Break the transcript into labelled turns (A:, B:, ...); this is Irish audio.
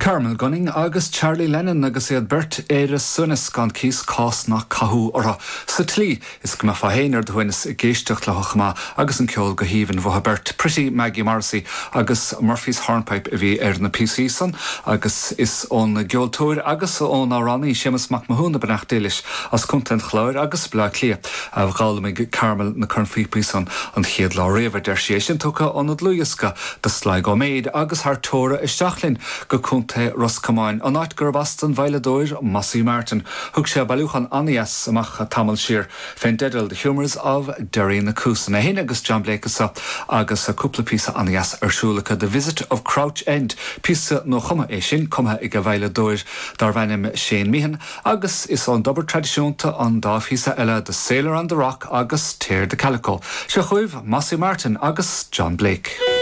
A: Carmel Gunning agus Charlie Lennon agus iad beirt ar a suaimhneas gan cíos cás ná cathú orthu sa tslí is go mbeifeá féin ar do shuaimhneas ag éisteacht leo chomh maith agus an ceol go haoibhinn uathu beirt. Pretty Maggie Morrissey agus Murphy's Hornpipe a bhí ar na píosaí san agus is ón gceoltóir agus ón amhránaí Séamus Mac Mathúna beannacht Dé leis as Contae an Chláir agus Baile Átha Cliath a d'fhoghlaimigh Carmel na cornphíopaí san an chéad lá riamh a deir sí. É sin tugtha óna dlúthdhiosca The Sligo Maid agus thar teora isteach linn go Contae Ros Comáin, an áit gurb as don veidhleadóir Mossy Martin. Thug sé bailiúchán an-dheas amach tamall siar fén dteideal The Humours of Derrynacusan. É féin agus John Blake anso agus cúpla píosa an-dheas ar siúl acu. The Visit of Crouch End, píosa nuachumtha é sin, cumtha ag an veidhleadóir darbh ainm Shane Meehan agus is ón dtobar traidisiúnta an dá phíosa eile The Sailor on the Rock agus Tear the Calico. Seo chugaibh Mossy Martin agus John Blake.